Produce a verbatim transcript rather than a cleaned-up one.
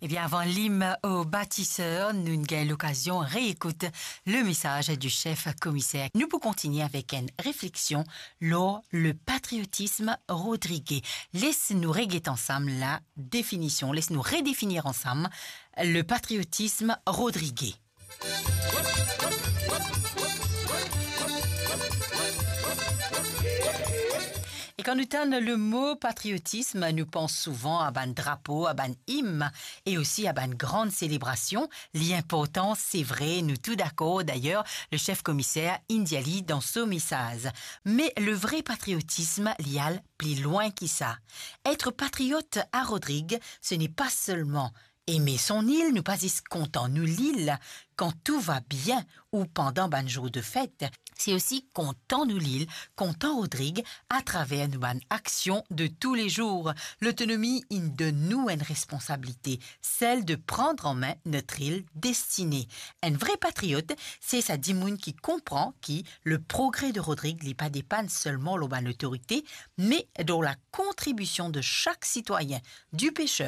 Ebien, avan lim o batiser, nou gagn lokazion reekout le mesaz di sef komiser. Nou pou kontigne avek enn refleksion lor le patriotisme rodrigey. Les nou reget ansam la definision, les nou redefinir ansam le patriotisme rodrigey. E kan nou tann le mo patriotisme, nou pans souvan a bann drapo, a bann im e osi a bann gran selebrasion. Li inportan, se vre, nou tou dakor. Dayer, le sef komiser inn dir li dan so mesaz. Me le vre patriotisme, li al pli lwin ki sa. Être patriote à Rodrigues, ce n'est pas seulement aimer son île, nou pa zis kontan nou lil kan tou va bien ou pandan bann zour de fet. Se osi kontan nou lil, kontan Rodrigues, atraver nou bann aksion de toulezour. Lotonomi inn donn nou enn responsabilite, celle de prendre en main notre île destinée. Enn vre patriot, se sa dimoun ki konpran ki le progrès de Rodrigues, li pa depann selman lor bann otorite, me lor la kontribision de sak sitwayin, du pêcheur